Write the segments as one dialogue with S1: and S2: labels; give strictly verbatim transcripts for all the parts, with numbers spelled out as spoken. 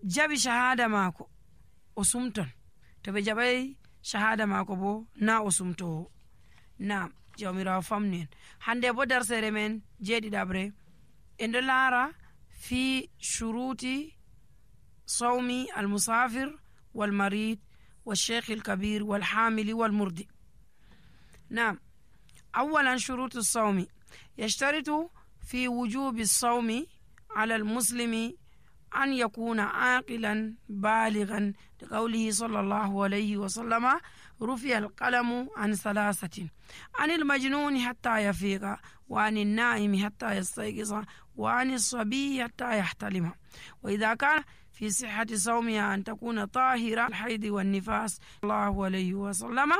S1: jabi shahada maako o sumton, to ɓe jaɓay shahada maako bo na o sumtowo. Naam, jawmirawo famnu en. hande bo darsere men jeeɗiɗaɓre en ɗo laara fi shuruti sawmi almusafir walmarid والشيخ الكبير والحامل والمرضي. نعم، أولا شروط الصوم. يشترط في وجوب الصوم على المسلم أن يكون عاقلا بالغا، لقوله صلى الله عليه وسلم رفع القلم عن ثلاثة: عن المجنون حتى يفيق، وعن النائم حتى يستيقظ، وعن الصبي حتى يحتلم. وإذا كان في صحة صومها أن تكون طاهرة الحيض والنفاس. الله عليه وسلم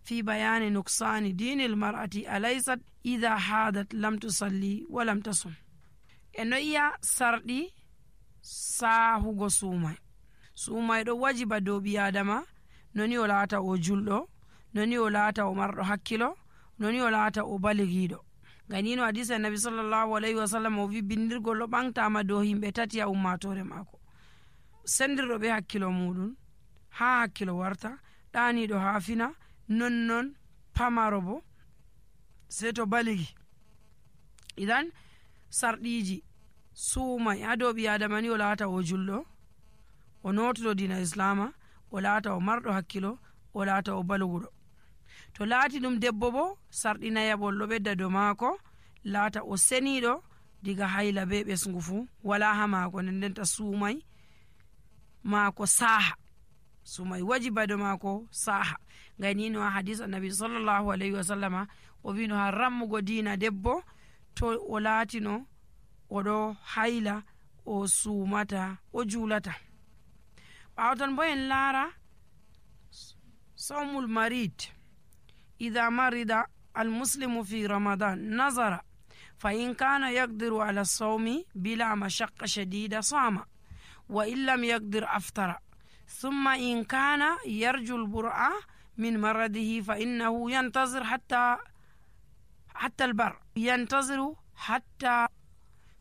S1: في بيان نقصان دين المرأة: أليست إذا حادت لم تصلي ولم تصم. إنه إيا سردي ساهو سوماي سوماي دو واجب دو بيادما، نوني ولاتا او جلدو، نوني ولاتا او مرد حكيلو، نوني ولاتا او بالغيدو. ganino hadisa annabi sallallahu alaihi wasallam o wi bindirgol ɗo ɓantama dow himɓe tati a ummatore maako: sendirɗo ɓe hakkilo muɗum ha hakkilo warta, ɗaniɗo ha fina, nonnon pamaro bo sei to baligi. idan sarɗiji suumai ha dow ɓi adama ni o laata o julɗo, o notuɗo dina islama, o laata o marɗo hakkilo, o laata o balguɗo. to laati ɗum debbo bo sarɗinayaɓol ɗo ɓedda dow maako, laata o seniɗo diga hayla be ɓesgu fu wala ha maako, nden ndenta suumai maako saha, sumai wajiba do maako saha. ganino ha hadis annabi sallallahu alaihi wasallama o wino ha rammugo dina debbo to o laatino oɗo hayla, o suumata, o juulata. ɓawtan bo en laara sawmul marid. إذا مرض المسلم في رمضان نظر فإن كان يقدر على الصوم بلا مشقة شديدة صام، وإن لم يقدر أفطر. ثم إن كان يرجو البرء من مرضه فإنه ينتظر حتى حتى البر ينتظر حتى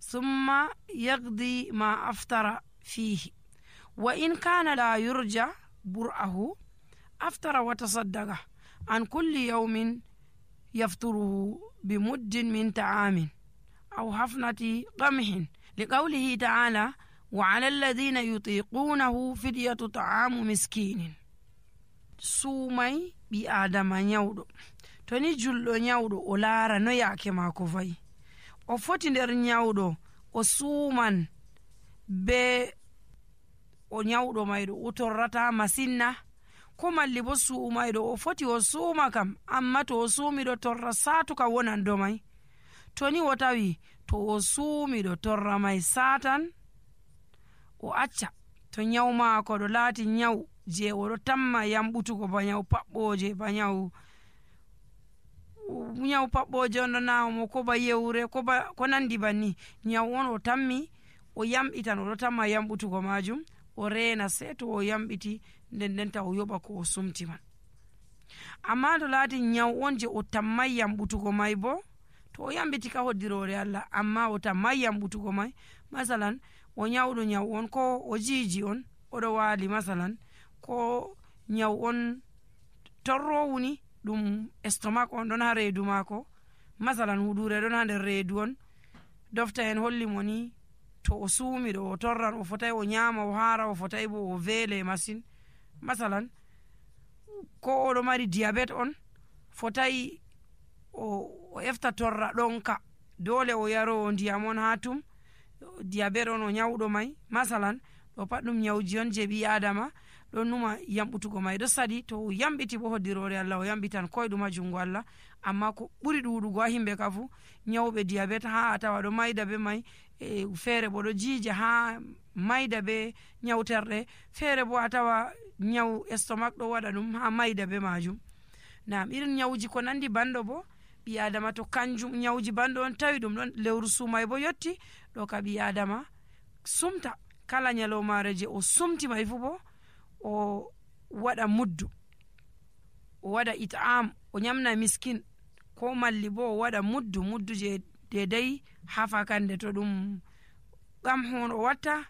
S1: ثم يقضي ما أفطر فيه. وإن كان لا يرجى برءه أفطر وتصدق عن كل يوم يفطره بمد من طعام أو حفنة قمح، لقوله تعالى: وعلى الذين يطيقونه فدية طعام مسكين. suumai ɓi adama nyawɗo to ni julɗo nyawɗo o laara no yaake maako fayi, o foti nder nyawɗo o suuman be o nyawɗo mayɗo o torrata masinna, ko malli bo suumayɗo o foti o suuma kam, amma to o suumiɗo torra saatuka wonan do may. to ni o tawi to o suumiɗo torra may satan, o acca to nyaw maako ɗo laati nyaw je oɗo tamma yamɓutugo, ba nyaw paɓɓoje, ba nyaw nyaw paɓɓoje on ɗo nawmo, ko ba yewre, ko ba ko nandi banni, nyaw on o tammi o yamɓitan, oɗo tamma yamɓutugo majum, o reena sei to o yamɓiti nden ndenta o yoɓa ko o sumti man. amma to laati nyaw on je o tammay yamɓutugo may bo, to o yamɓiti ka hoddirore Allah, amma o tammay yamɓutugo may, masalan o nyawɗo nyaw on, ko o jiiji on oɗo waali, masalan ko nyaw on torrowuni ɗum estomac on ɗon ha reedu maako, masalan huɗure ɗon ha nder reedu on, dofta en holli mo ni to o suumiɗo o torran, o fotai o nyama o haara, o fotai bo o veele masin. masalan ko oɗo mari diabete on, fotai o, o efta torra ɗonka, dole o yaro ndiyam on ha tum, diabete on o nyawɗo may, masalan ɗo pat ɗum nyawji on je ɓi adama ɗon numa yamɓutugo may ɗo sadi. to o yamɓiti bo hoddirore Allah, o yamɓitan koyɗum ha jungo Allah. amma ko ɓuri ɗuɗugo ha himɓe ka fu nyawɓe diabete ha a tawa ɗo mayda be may, e feere bo ɗo jiija ha mayda be nyawterɗe, feere bo a tawa nyaw estomac ɗo waɗa ɗum ha mayda be majum. nam irin nyawji ko nandi banɗo bo ɓi adama to kanjum nyawji banɗo on tawi ɗum ɗon lewru sumay bo yotti, ɗo ka ɓi adama sumta kala nyalomare je o sumti may fu bo o waɗa muddu, o waɗa it'am, o nyamna miskin, ko malli bo o waɗa muddu muddu je dedai hafa kande. to ɗum gam hon o watta